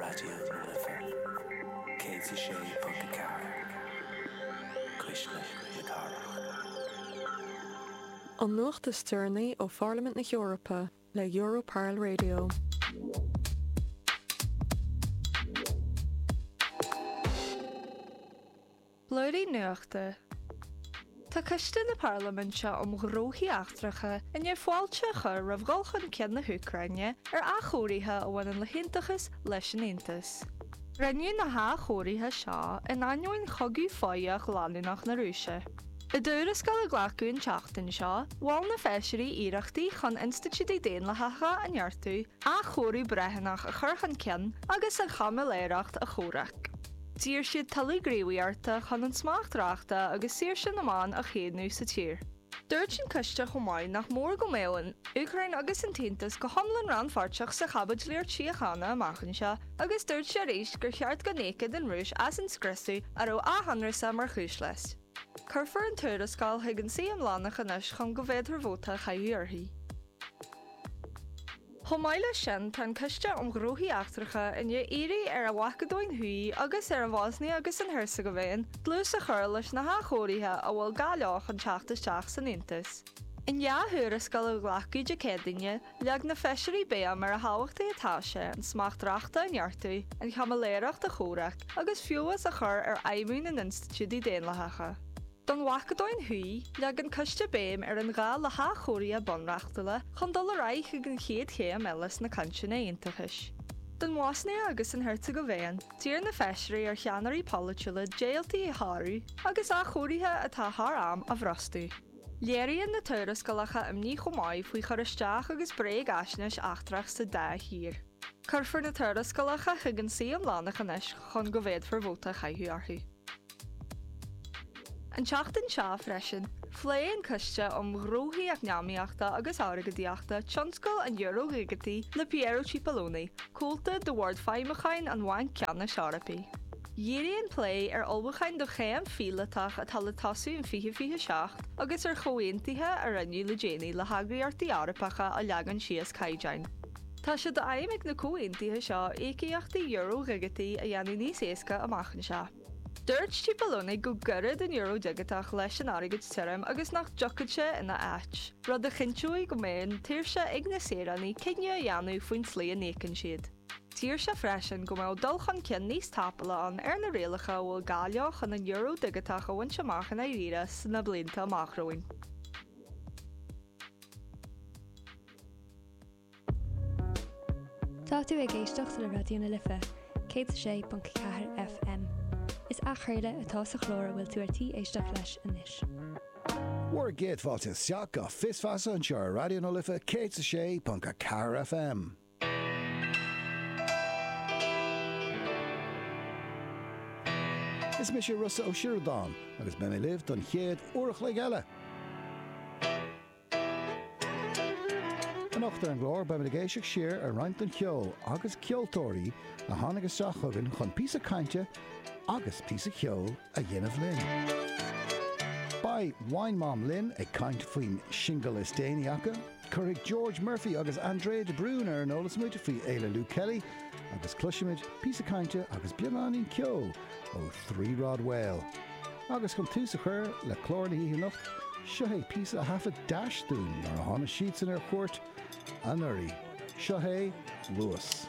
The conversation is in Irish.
Raidió na Life 106.4, Cuisle na Cathrach. An nuacht is deireanaí ó Pharlaimint na hEorpa le Europarl Radio. Blúirín Nuachta. Tá Coiste na Parlaiminte um Ghnóthaí Eachtracha i ndiaidh fáilte a chur roimh dhul chun cinn na hÚcráine ar athchóirithe a bhaineann le haontachas leis an Aontas. Rinneadh na hathchóirithe seo in ainneoin chogadh foghach leanúnach na Rúise. I dtuarascáil a glacadh an tseachtain seo, mhol na feisirí iarrachtaí chun institiúidí daonlathacha a neartú, athchóiriú breithiúnach a chur chun cinn agus an chaimiléireacht a chomhrac. D'iarr siad tuilleadh gníomhaíochta chun an smacht reachta agus saoirse na meán a chaomhnú sa tír. Dúirt an coiste chomh maith nach mór go mbeadh an Úcráin agus an tAontas go hiomlán rannpháirteach sa chaibidlíocht síochána amach anseo agus dúirt sé arís gur cheart go n-íocfadh an Rúis as an scriosadh a raibh a hionramháil mar chúis leis. Cuirfear an tuarascáil chuig an suí iomlánach anois chun go bhféadfar vóta a chaitheamh uirthi. Chomh maith leis sin, tá an Coiste um Ghnóthaí Eachtracha i ndiaidh iarraidh ar an Mhacadóin Thuaidh agus ar an Bhosnia agus an Heirseagaivéin dlús a chur leis na hathchóirithe a bhfuil gá leo chun teacht isteach san Aontas. In 2 thuarascáil a glacadh Dé Céadaoine, leag na feisirí béim ar a thábhachtaí atá sé an smacht reachta a neartú, an chaimiléireacht a chomhrac agus feabhas a chur ar fheidhmiú na n-institiúidí daonlathacha. Don Mhacadóin Thuaidh, leag an coiste béim ar an ghá le hathchóirithe bunreachtúla chun dul ar aghaidh chuig an chéad chéim eile sna cainteanna aontachais. Don Bhosnia agus an Heirseagaivéin, d'iarr na feisirí ar cheannairí polaitiúla deighiltí a shárú agus athchóirithe atá thar am a bhrostú. Léiríonn na tuarascálacha imní chomh maith faoi chur isteach agus bréagaisnéis eachtrach sa dá thír. Cuirfear na tuarascálacha chuig an suí iomlánach anois chun go bhféadfar vóta a chaitheamh orthu. An tseachtain seo freisin, phléigh an Coiste um Ghnóthaí Eacnamaíochta agus Airgeadaíochta tionscal an euro dhigitigh le Piero Cipollone, comhalta de Bhord Feidhmiúcháin an Bhainc Ceannais Eorpaigh. Dhírigh an plé ar ullmhúcháin do chéim phíolótach atá le tosú in 2027 agus ar chomhaontuithe a rinneadh le déanaí le heagraíochtaí Eorpacha a leagann síos caighdeáin. Tá sé d'aidhm ag na comhaontuithe seo íocaíochtaí euro dhigitigh a dhéanamh níos éasca amach anseo. Dúirt Cipollone go gcuirfeadh an euro digiteach leis an airgead tirim agus nach dtiocfadh sé ina áit, rud a chinnteoidh go mbeidh an tsaoirse ag na saoránaigh cinneadh a dhéanamh faoin tslí a n-íocann siad. D'iarr sé freisin go mbeadh dul chun cinn níos tapúla ann ar na rialacha a bhfuil gá leo chun an euro digiteach a bhaint amach i ndáiríre sna blianta amach romhainn. Tá tú ag éisteacht le Raidió na Life 106.4 FM. Is athchraoladh atá sa chlár a bhfuil tú ar tí éisteacht leis anois. Bhur gcéad fáilte isteach go Fios Feasa anseo ar Raidió na Life 106.4 FM. Is mise Rossa Ó Sioradáin agus beidh mé libh don chéad uair a chloig eile. Anocht ar an gclár, beimid ag éisteacht siar ar roinnt den cheol agus ceoltóirí a tháinig isteach chugainn chun píosa cainte agus píosa ceoil a dhéanamh linn. Beidh Wine Mom linn ag caint faoin singil is déanaí acu, cuirfidh George Murphy agus Andrea de Brún ar an eolas muid faoi Fhéile Luke Kelly agus cloisfimid píosa cainte agus beagáinín ceoil ó Three Rod Whale. Agus chun tús a chur le clár na hoíche anocht, seo é píosa a thaifead Dash dúinn nuair a tháinig siadsan ar cuairt anuraidh. Seo é Luas.